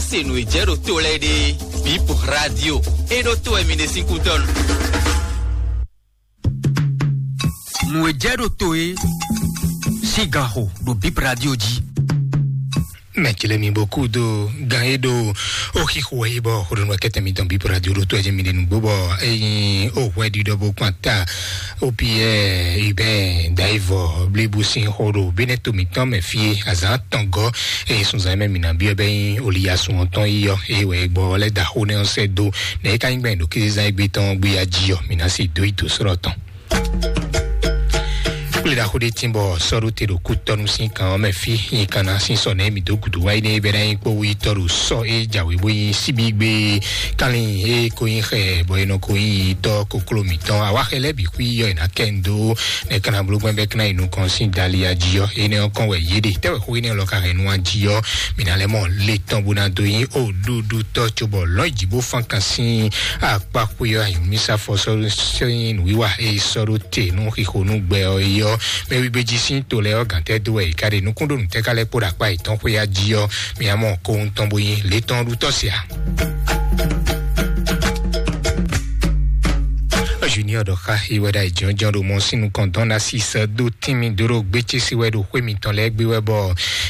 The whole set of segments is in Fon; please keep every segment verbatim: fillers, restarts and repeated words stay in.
Se nǔ e jɛ ɖo to lɛ́ɛ ɖe, Bip Radio, é ɖó to wɛ mi ɖe sín kútɔ́nu. Nǔ e jɛ ɖo to é, sín ganxo ɖo Bip Radio jí. Mɛ jlɛ́ mi bó kú dó gan e ɖo ó xixo wɛ é bɔ xó ɖo nú akɛtɛ mitɔn Bip Radio ɖo tó ɛ jɛ mi ɖe nǔgbó bɔ é nyí ó hwɛ ɖiɖɔ bó kpan ta. Ó Piyɛ́ɛ Hubɛ́ɛ Dayivɔ blíbú sín xó ɖo Benɛto mǐtɔn mɛ fí e azǎn tɔn gɔ́, eye sunzan mɛ mǐ ná byɔ́ bɛ́ nyí Oliyasun ɔ́ tɔn yi ɔ́, eye wɛ gbɔ lɛ́ da xó nɛ́ ɔ́ sɛ́ dó, nɛ̌ é ka nyí gbɛn ɖo kézezán égbé tɔn gbéya jí ɔ́, mǐ ná se dó yi dǒ srɔ́ tɔn. Kplé ɖaxó ɖé tín bɔ sɔ́ ɖó te ɖo kútɔ́nú sín kan ɔ́ mɛ fí, nyi kan ná sín sɔ nɛ́ mǐ dó gǔdo wá yi nɛ́ é bɛ́ ná nyí kpó wú yi tɔ́ ɖo sɔ́ é jǎwe bó nyí síbígbe kánlin é ko nyí xɛ bɔ è nɔ ko nyí tɔ́ kokló mǐtɔn. Awáxɛ lɛ́ɛ bǐ xwí yɔ è nǎ kɛ ń dó nɛ́ kan ná bló gbɛ́ bɛ́ kán ná yi nukɔn sín Dalia jí ɔ́, énɛ́ ɔ́ kɔn wɛ yě ɖe. Tɛ́ wɛ xó énɛ́ lɔ ka hɛn nú an jí ɔ́, mǐ ná lɛ́ mɔ le tɔn bó ná dó nyí oɖuɖutɔ́ cóbɔ lɔ̌n yi jǐ bó fán kan sín akpá xwé ɔ́, anyǔmísá fɔ sɔ́ sín nǔwiwa e sɔ́ ɖó te nú xixo nú gbɛ ɔ́ é ɔ́, mɛ wígbéjí sín to lɛ́ɛ ɔ́ gǎn tɛ́ dó wɛ è ka ɖe nukúnɖonú tɛ́ ka lɛ́ kpó ɖo akpá yětɔn xwé jí ɔ́, mi ná mɔ kowun tɔn bó nyí le tɔn ɖu tɔ́ se ǎ. Junior ɖɔ xá yi wɛ ɖo ayǐjínjɔ́n ɖo mɔ sín nukɔn dɔn ná sísɛ dó tínmì dó ɖo gbécésí wɛ ɖo xwé mitɔn lɛ́ɛ gbé wɛ bɔ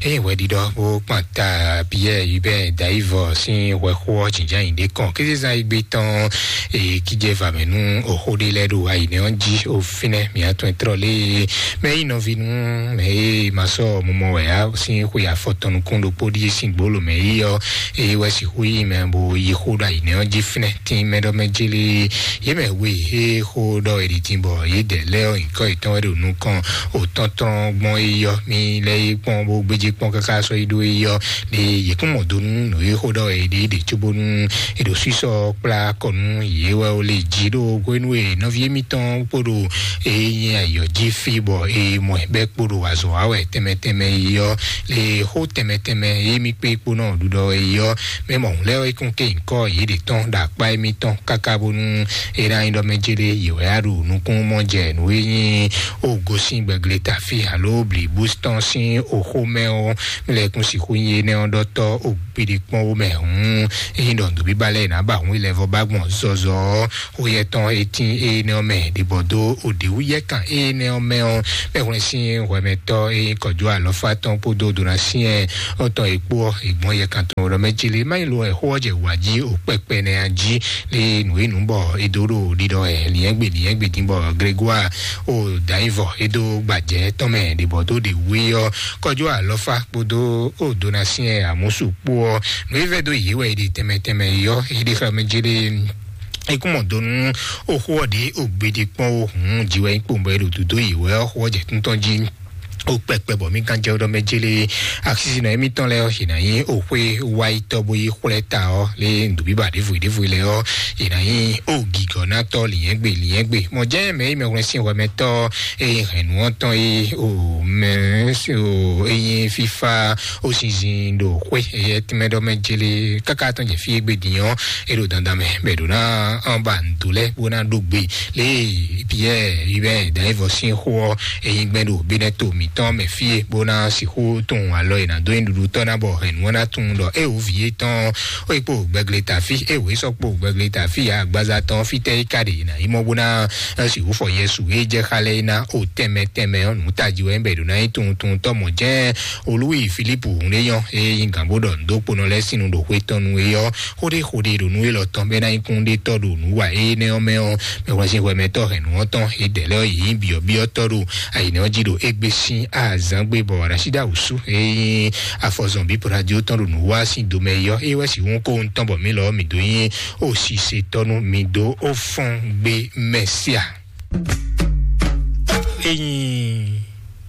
eye wɛ ɖiɖɔ bó kpan ta Piyɛ́ɛ Hubɛ́ɛ Dayivɔ sín hwɛxó ɔ́ jǐnján nyi ɖě kɔn kézezán yi gbé tɔn. Eye kíjɛ va mɛ nú oxó ɖé lɛ́ɛ ɖo ayǐnɛ ɔ́ jí o fínɛ́ mǐ atɔn trɔ lé mɛ yi nɔví nú mɛ e ma sɔ mumɔ wɛ á sín xwe afɔtɔn nukún ɖokpó ɖíe sín gbolo mɛ yi ɔ́, eye wɛ sixú yi mɛ bo yi xó ɖo ayǐnɛ ɔ́ jí fínɛ́ tín mɛ ɖɔ mɛ jélé. Yě mɛ we e xó ɖɔ è ɖi din bɔ yě dɛ lɛ́ɛ ɔ́ nyǐkɔ yětɔn wɛ ɖo nukɔn òtɔ́ntɔn gbɔn é yɔ mì lɛ́ é kpɔ́n bó gbéjé kpɔ́n káká sɔ́ yi ɖó é yɔ. Ɖe yě kún mɔ do nú nǔ e xó ɖɔ è ɖe é ɖe cóbónú è ɖo sísɔ kplá kɔ nú yě wɛ ó lé jí ɖó hwenu e nɔví émítɔn kpó ɖo é nyí ayɔ jí fí bɔ é mɔ ɛ bɛ́ kpó ɖo azɔ̌ wa wɛ tɛnmɛ tɛnmɛ é yɔ. Le xó tɛnmɛ tɛnmɛ e mì kpé kpó nɔ ɖuɖɔ é yɔ. Mɛ mɔ̌hun lɛ́ɛ é kún ké nyǐkɔ yě ɖě tɔn ɖo akpá émítɔn káká bónú é ná nyí ɖɔ mɛ jélé yě wɛ á ɖo nukún mɔ jɛ nǔ e nyí ó gosín gbɛgleta fí alo blǐbú tɔn sín oxó mɛ ɔ́, mɛ lɛ́ɛ kún sixú nyí énɛ́ ɔ́ ɖɔtɔ́ ó gbéɖé kpɔ́n ó mɛ hǔn é nyí ɖɔ nǔbíbá lɛ́ɛ ná ba hǔn ilɛvɔ ba gbɔn zɔzɔ ɔ́, xó yɛtɔn e tín énɛ́ ɔ́ mɛ ɖibɔ dó òɖěwúyɛ́kan énɛ́ ɔ́ mɛ ɔ́, mɛ hwlɛ́n sín hwɛmɛtɔ́ e nyí kɔjó alɔfá tɔn kpódó donasyɛn ɔ́ tɔn e kpó ɔ́, è gbɔn yɛkan tɔn ɖɔ mɛ jí lé má nyí lo wɛ xó ɔ́ jɛ wǎ jí o kpɛkpɛ nɛ́ a jí lé nǔ e nǔ bɔ è dó ɖo ɖiɖɔ wɛ liɛ́ngbè liɛ́ngbè dín bɔ Grégoire o dǎnyivɔ é dó gbajɛ tɔn mɛ ɖibɔ dó ɖe wú é ɔ́, kɔjó alɔfá kpódó o donasyɛn amúsu kpó ɔ́, nǔ e vɛ́ dó yě wɛ è ɖe tɛnmɛ tɛnmɛ é ɔ́, é ɖe xlɛ́ mɛ jí lé. Ekúmọ̀ donu ó xó ɔ́ ɖě ó gbéɖé kpɔ́n ó hǔn jí wɛ nyí kpowun bɔ é ɖo dǒdó yě wɛ ɔ́ xó ɔ́ jɛ tún tɔn jí ó kpɛkpɛ bɔ mí gán jɛ ɖɔ mɛ jélé. Axisínɔ émítɔn lɛ́ɛ ɔ́, yě ná nyí ó xwé wáyítɔ́ bó yi xwlɛ́ ta ɔ́ lé nǔbíbà ɖěvo ɖěvo lɛ́ɛ ɔ́, yě ná nyí ó gǐgɔ́nátɔ́ lǐnyɛ́gbe lǐnyɛ́gbe. Mɔ̌ jɛ́n mɛ e mɛ hwlɛ́n sín hwɛmɛtɔ́ e hɛn nǔ ɔ́ tɔn é o mɛ o é nyí fífá ó sinzin ɖo xwé éyɛ́ tínmɛ ɖɔ mɛ jélé káká tɔn jɛ fí e gbe din ɔ́, é ɖo dandan mɛ bɛ ɖo ná ɔn ba ndo lɛ bó ná ɖó gbe lé Piyɛ́ɛ yi bɛ dǎnyivɔ sín xó ɔ́, é nyí gbɛn ɖo Benɛto mǐtɔn mɛ fí e bó ná sixú tunwun alɔ e ná dó nyi ɖuɖu tɔ́ ná bɔ hɛn nǔ ɔ́ ná tunwun ɖɔ é wǒ vǐ étɔn ó yi kpo gbɛgle ta fí é wǒ é sɔ́ kpo gbɛgle ta fí ya agbaza tɔn fítɛ́ é ka ɖe yi ná yi mɔ bó ná sixú fɔ Yɛsu é jɛ xa lɛ é ná o tɛnmɛ tɛnmɛ ɔ́ nǔ tají wɛ bɛ ɖo ná nyí tunwun tunwun tɔ́ mɔ̌ jɛ́n Olúwi Filipu hun ɖé nyɔ́, é nyí gǎn bó ɖɔ nǔ dó kponɔ lɛ́ɛ sín nu ɖo xwé tɔn nu é ɔ́, xóɖé xóɖé ɖo nú élɔ́ tɔn bɛ́ ná nyí kúnɖétɔ́ ɖo nǔ wa énɛ́ ɔ́ mɛ ɔ́, mɛ hwlɛ́n sín hwɛmɛtɔ́ hɛn nǔ ɔ́ tɔn é dɛ̌ lɛ́ɛ ɔ́ yě nyí byɔ̌byɔ́tɔ́ ɖo ayǐnɛ́ ɔ́ jí ɖo égbé sín azǎn gbe bɔ Rasida wǔsú é nyí afɔzɔn bí Pɔladió tɔn ɖo nǔ wa sín domɛ é ɔ́, é wɛ sixú kó ŋutɔn bɔ mǐ lɔ ɔ́ mǐ dó nyí ó sisetɔ́ nú mǐ dó ó fɔ́n gbé Mɛsia. É nyí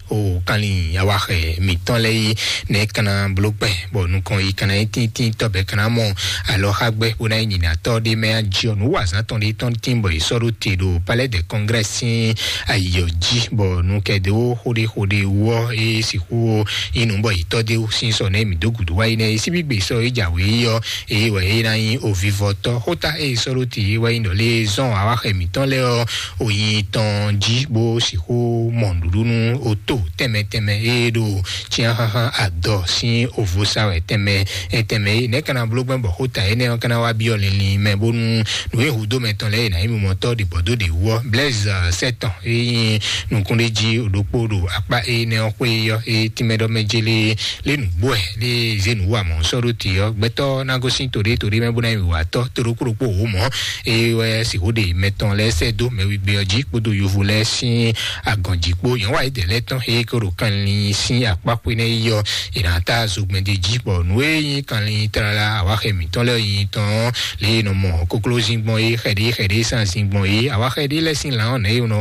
o kanlin awaxɛ mǐtɔn lɛ́ɛ yi nɛ kana bló kpɛ bɔ nukɔn yi kana yi tíntín tɔbɛ kana mɔ alɔxagbɛ bó ná yi nyina tɔ ɖé mɛ ajiɔ nú wazán tɔn ɖé tɔn tín bɔ yi sɔ́ ɖó te ɖo Palais de Congrès sín ayiyɔ jí bɔ nukɛdéwo xóɖé xóɖé wɔ é sixú yi nú bɔ yi tɔ dé sín sɔ nɛ mǐ dó gǔdo wá yi nɛ síbígbe sɔ é jǎwe yi ɔ eye wɛ é ná nyí ovivɔtɔ́ xóta eye sɔ́ ɖó te é wá yi nɔ lé zɔn awaxɛ mǐtɔn lɛ́ɛ ɔ oyin tɔn jí bó sixú mɔ nǔɖuɖu nú oto tɛnmɛ tɛnmɛ tɛnmɛ e ɖo cyán xáxá adɔ sín ovosa wɛ tɛnmɛ tɛnmɛ e nɛ́ kana bló gbɛn bɔ xó ta énɛ́ ɔ́ kana wá byɔ́ linlin mɛ bónú nǔ e hudó mɛ tɔn lɛ́ɛ e nǎ nyí mimɔtɔ́ ɖi gbɔ̌ dó ɖě wú ɔ́, Blaise sɛ́tɔn e nyí nukúnɖéjí ɖokpó ɖo akpá énɛ́ ɔ́ xwé ɔ́, e tínmɛ ɖɔ mɛ jélé lé nǔgbó ɛ lé zé nǔ wa mɔ̌ sɔ́ ɖó te ɔ́, gbɛtɔ́ ná gosín toɖé toɖé mɛ bó ná nyí wǐwatɔ́ toɖokpóɖokpó wǒ mɔ̌. Eye wɛ sixú ɖe mɛ tɔn lɛ́ɛ sɛ́ dó mɛ wígbé ɔ́ jí kpódó yovo lɛ́ɛ sín agɔn jí kpó. Yɛn wá yědɛɛ lɛ́ɛ tɔn e ko ɖo kanlin sín akpáxwé nɛ́ yi ɔ́, è nǎ ta zogbɛ́n d'é jí, bɔ nǔ e nyí kanlin tlala awáxɛ mǐtɔn lɛ́ɛ nyi tɔn ɔ́, lě e nɔ mɔ koklózingbɔn é xɛɖé xɛɖé sanzingbɔn é, awáxɛ ɖé lɛ́ɛ sín lan ɔ́ nɛ̌ e nɔ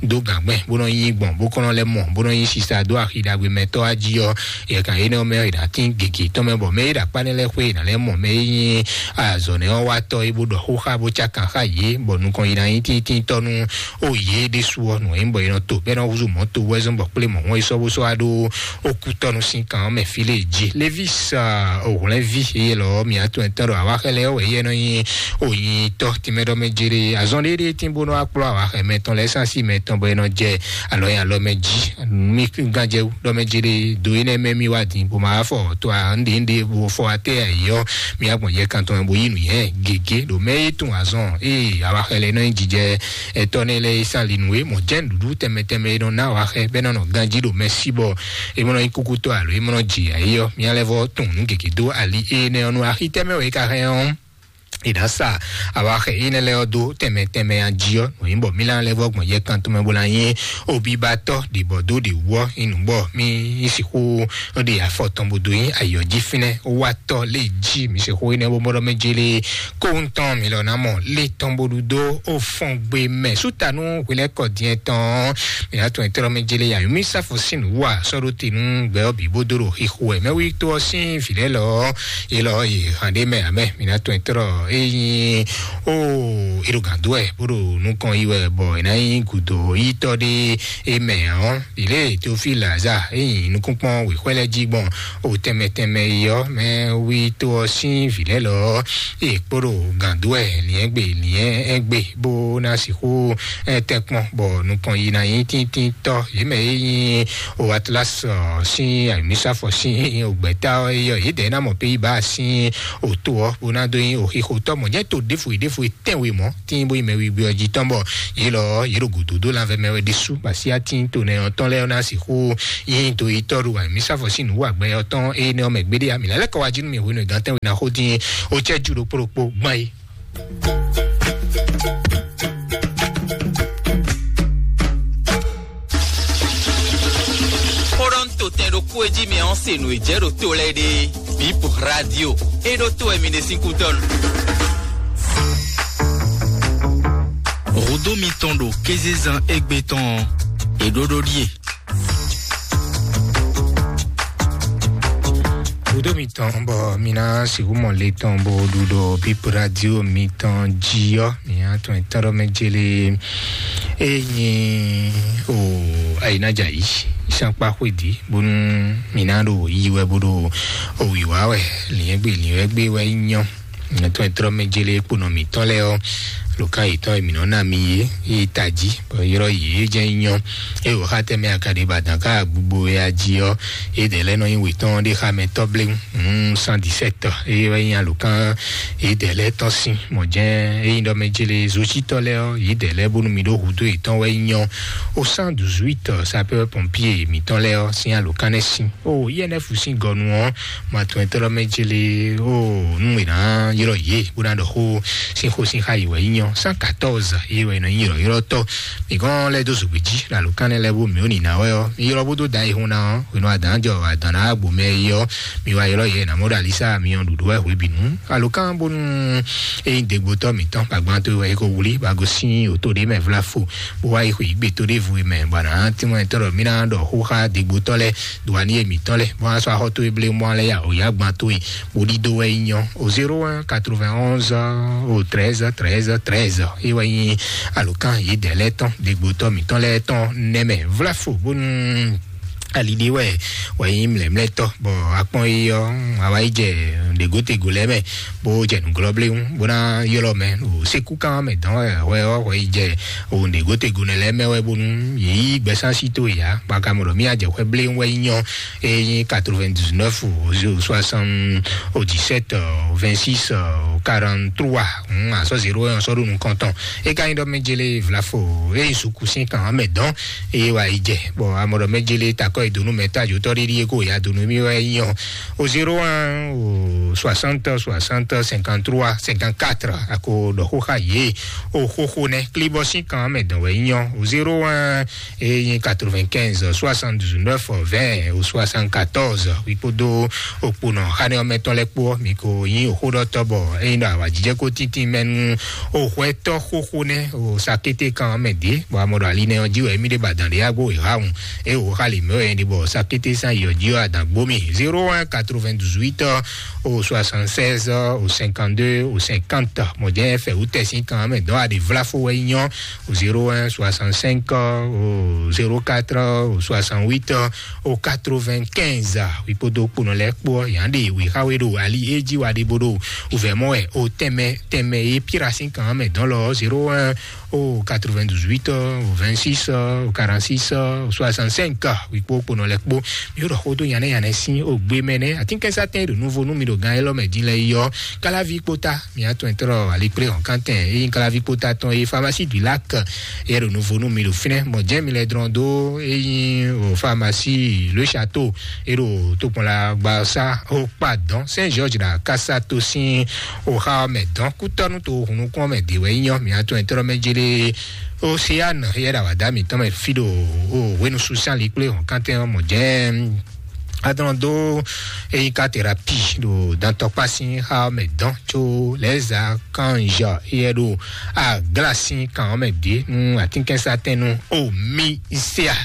dó gǎngbɛn bó nɔ yí gbɔn bó kɔn nɔ lɛ́ mɔ bó nɔ yí sisa dó axi ɖagbe mɛ tɔ́ wá jí ɔ́, yɛ kan énɛ́ ɔ́ mɛ ɔ́, è nǎ tín gěgé tɔn mɛ bɔ mɛ e ɖo akpá nɛ́ lɛ́ɛ xwé è nǎ lɛ́ mɔ mɛ e nyí azɔ̌ nɛ́ ɔ́ wá tɔ́ é bó ɖɔ xó xá bó cá kan xá yě, bɔ nukɔn yi ná nyí tíntíntɔ́ nú ó yě ɖésú ɔ́, nǔ e nyí bɔ è nɔ to bɔ é nɔ húzú mɔ̌ to wɛ́zɔ́n bɔ kplé mɔ̌ hɔn é sɔ́ bó sɔ́ wá ɖó ó kú tɔ́nu sín kan ɔ́ mɛ fí lě jí. Levis òhwlɛ́nví éyɛ́ lɔ ɔ́, mǐ atɔn ɛtɔn ɖo awáxɛ lɛ́ɛ wɛ éyɛ́ nɔ nyí ònyitɔ́ tínmɛ ɖɔ mɛ jéré azɔn ɖéɖé tín bó nɔ wá kplɔ́ awáxɛ mɛ tɔn lɛ́ɛ sín así mɛ tɔn bɔ é nɔ jɛ alɔ nyi alɔ mɛ jí. Mí gánjɛ wú ɖɔ mɛ jéré do énɛ́ mɛ mì wá din bó ma wá fɔ to ǎ ŋɖe ŋɖe bó fɔ wá tɛ ayǐ ɔ́, mí agbɔn yɛ kan tɔn bó yí nǔ yɛ gěgé ɖo mɛ e tún azɔn ee awáxɛ lɛ́ɛ nɔ nyi jijɛ ɛtɔ́ nɛ́ lɛ́ɛ e sán li nǔ e mɔ̌ jɛ́n nǔɖuɖu tɛnmɛ tɛnmɛ e nɔ ná awáxɛ bɔ é ná nɔ ganjí ɖo mɛ sí bɔ é mɔ nɔ nyí kúkútɔ́ alo é mɔ nɔ ji ayǐ ɔ́, mía lɛ́ vɔ́ tun nǔ gěgé dó ali énɛ́ ɔ́ nú axi tɛnmɛ wɛ é ka hɛn ɔ́. È nǎ sa awáxɛ énɛ́ lɛ́ɛ ɔ́ dó tɛnmɛ tɛnmɛ a jí ɔ́, nǔ nyí bɔ mí ná lɛ́ vɔ́ gbɔn yɛ kan tɔn mɛ bó ná nyí obibatɔ́ ɖě bɔ dó ɖě wú ɔ́, nyí nǔ bɔ mí sixú ɖe afɔ tɔn bó dó nyí ayǐ ɔ́ jí fínɛ́. Wá tɔ́ lé jí mǐ sixú énɛ́ bó mɔɖɔ mɛ jélé kóhun tɔn mǐ lɔ ná mɔ lé tɔn bó ɖu dó ó fɔn gbe mɛ súta nú hwelɛ́kɔ diɛ tɔn mǐ ná tún ɛtɛ́ mɛ jélé yǎ mí sáfo sín nǔ wa sɔ́ ɖó te nú gbɛ ɔ́ bǐ bó dó ɖo xixo wɛ mɛ wí tó ɔ́ sín vǐ lɛ́ɛ lɔ ɔ́, é lɔ ɔ́ yě hǎn ɖé mɛ ǎ mɛ mǐ ná tún ɛtɛ́ é nyí ó é ɖo gǎn dó wɛ bó ɖo nukɔn yi wɛ bɔ è ná nyí gǔdo yítɔ́ ɖé é mɛ ɔ́. Ilé Teofil Laza é nyi nukúnkpɔ́n wěxwɛ́ lɛ́ɛ jí gbɔn o tɛnmɛ tɛnmɛ yi ɔ́, mɛ wí tó ɔ́ sín vǐ lɛ́ɛ lɔ ɔ́, é kpó ɖo gǎn dó wɛ liɛ́ngbè liɛ́ngbè bó ná sixú tɛ́nkpɔ́n bɔ nukɔn yi ná nyí tíntínntɔ́. Yě mɛ é nyí o Atlas sín ayǐmísàfɔ sín ògbɛ́tá ɔ́ é yɔ yědɛɛ ná mɔ pé yí bá sín òtó ɔ́ bó ná dó nyí òxixotɔ́ mɔ̌ jẹ́ tó ɖěfo ɖěfo tɛ́nwe mɔ̌ tín bó yi mɛ wíwí ɔ́ jí tɔn bɔ yě lɔ yě ɖo gǔdo dó lanvɛ mɛ wɛ ɖésú basiya tín to nɛ ɔ́ tɔn lɛ́ɛ ɔ́ ná sixú yín do yi tɔ́ ɖo wǎ mǐ sáfɔ sín nǔ wǎgbɛ ɔ́ tɔn ée nɛ́ ɔ́ mɛ gbéɖé ǎ. Mǐ ná lɛ́ kɔ wá jí nú mì hwenu e gǎn tɛ́nwe ná xó dín ó cɛ́ ju ɖokpó ɖokpó gbán é. Xó ɖɔ ń to tɛn ɖokpó e jí mɛ ɔ́ se nǔ e jɛ ɖo to lɛ́ɛ ɖe. Bip Radio. É ɖó to wɛ mi ɖe sín kútɔ́nu. Rodo mitɔn ɖo kézezan égbé tɔn ɔ́, è ɖó ɖó ɖíe. Rodo mitɔn bɔ mi ná sixú mɔ le tɔn bó ɖu ɖo Bip Radio mitɔn jí ɔ́, mi ná tún ɛ tɔ́ ɖɔ mɛ jélé. Enyi o ayinaja yi sankpa xwedi bónú mi ná ɖo yi wɛ bó ɖo o wiwa wɛ liɛngbe liɛngbe wɛ nyɔ. Nɔtɔn e trɔ mɛ jele kponɔ mitɔn lɛ ɔ, lokan yitɔn e mi nɔ na mi ye yi taji bɔ yrɔ yi ye jɛ nyɔ. E o xa tɛ mɛ akadi ba dan ka gbogbo ya ji ɔ, e dɛ lɛ nɔ yi wetɔn de xa mɛ tɔ ble. Cent dix-sept eye wɛ nyi alokan yi dɛ lɛ tɔn sin mɔ jɛn eyi ɖɔ mɛ jele zositɔ lɛ ɔ yi dɛ lɛ bónú mi ɖo hudo yetɔn wɛ nyɔ. O cent douze-huit sapeur pompier mitɔn lɛ ɔ sin alokan nɛ sin o yɛnɛ fu sin gɔnu ɔ ma tɔn tɔlɔ mɛ jele o nu e na yrɔ ye bó na ɖɔ xó sin xó sin xa yi wɛ nyɔ. Cent quatorze eye wɛ nɔ yrɔ yrɔ tɔ mi gɔn lɛ do zogbe ji la alokan nɛ lɛ bó mi o nina wɛ ɔ mi yrɔ bó do da yi hun na ɔ wenu adan jɔ adan na agbo mɛ yi ɔ mi wa ylɔ yɛ na mɔ ɖo alisa mi ɔ ɖuɖu wɛ hwe binu alokan bonu eyi degbotɔ mitɔn gbagban to wɛ ko wuli ba go sin oto ɖe mɛ vla fo bó wá yi xwe igbe to ɖe vu mɛ bɔ na ti mɔ tɔrɔ mi na ɖɔ xó xa degbotɔ lɛ do ani emitɔ lɛ bó wá sɔ axɔ to eble mɔ lɛ ya o ya gban to yi bó ɖi do wɛ yi nyɔ o zéro un quatre-vingt-onze o treize treize treize e wɛ nyi alokan yi dɛ lɛ tɔn degbotɔ mitɔn lɛ tɔn nɛmɛ vla fo bonu Ali ɖé wɛ wɛ nyí mlɛmlɛtɔ, bɔ akpɔn yi ɔ, awa yi jɛ ɖegotego lɛ mɛ, bó jɛ nuglɔ bléwu bó ná ylɔ mɛ o sekúkan mɛ dɔn wɛ wɛ ɔ wɛ yi jɛ o ɖegotego nɛ lɛ mɛ wɛ bónú yě yí gbɛsán sí tó yá. Baka mɔ ɖɔ mí ajɛ xwɛ bléwu wɛ nyɔ e nyí quatre-vingt-dix-neuf o soixante-dix-sept, vingt-six, quarante-trois. Asɔ zéro un sɔ ɖo nukɔntɔn e ka nyí ɖɔ mɛ jele vlafo e suku sín kan mɛ dɔn eye wa yi jɛ bɔ amɔ ɖɔ mɛ jele takɔ yi donu mɛ ta jotɔ ɖiɖi e ko ya donu mi wɛ nyɔ o zéro un o soixante soixante cinquante-trois cinquante-quatre. Ako ɖɔ xó xa yé o xóxó nɛ klibɔ sín kan mɛ dɔn wɛ nyɔ o zéro un e nyí quatre-vingt-quinze soixante-dix-neuf vingt o soixante-quatorze. Wíkpódó okponɔ xanɛ ɔmɛ tɔn lɛ kpó mi ko nyí oxóɖɔtɔ bɔ eyin ɖɔ awajijɛ ko tíntín mɛ nú o hwɛtɔ xóxó nɛ o sakété kan mɛ dé bɔ amɔ ɖɔ ali nɛ ɔ́ jí wɛ mi ɖe ba dàn ɖé agbo e ha wun e o xa li mɛ wɛ ɖe bɔ sakété san yi ɔjí ɔ adàn gbomi zéro un quatre-vingt-dix-huit o soixante-seize o cinquante-deux o cinquante. Mɔ jɛ fɛ wú tɛsin kan mɛ dɔn aɖe vlafo wɛ nyɔ o zéro un soixante-cinq o zéro quatre o soixante-huit o quatre-vingt-quinze. Wíkpódó kponɔ lɛ́ɛ kpó ɔ́ yǎ ɖe wěxáwé ɖo ali é jí wa ɖe bó ɖo wǔvɛ́ mɔ wɛ o tɛnmɛ tɛnmɛ e píra sín kan mɛ dɔn lɔ zéro un o quatre-vingt-dix-huit o vingt-six o quarante-six o soixante-cinq. Wíkpó kponɔ lɛ́ɛ kpó mi ɖɔ xó dó nyanɛ nyanɛ sín o gbé mɛ nɛ atínkɛnsátɛn ɖo nuvo nú mi ɖo gan élɔ́ mɛ dín lɛ yi ɔ́. Káláví kpóta mi atɔn ɛtrɔ alikplé hɔn kántɛn e nyí káláví kpóta tɔn e pharmacie du lac yɛ ɖo nuvo nú mi ɖo fínɛ́ mɔ jẹ́ mi lɛ drɔn dó e nyí o pharmacie le château e ɖo tokpɔnla gbasa o kpa dɔn Saint George la kasa to sín o xa mɛ dɔn kútɔnu to hunukun mɛ de wɛ nyɔ mi atɔn ɛtrɔ mɛ jele océane yɛ ɖo awada mitɔn mɛ fi ɖo o wenu susan likplé hɔn kántɛn mɔ jẹ́ adɔn dó eyi ka terapi ɖo dantɔkpa sín xa mɛ dɔn tso lɛza kanjɔ yɛ ɖo agla sín kan mɛ ɖě nú atínkɛnsatɛn nú o mi sia.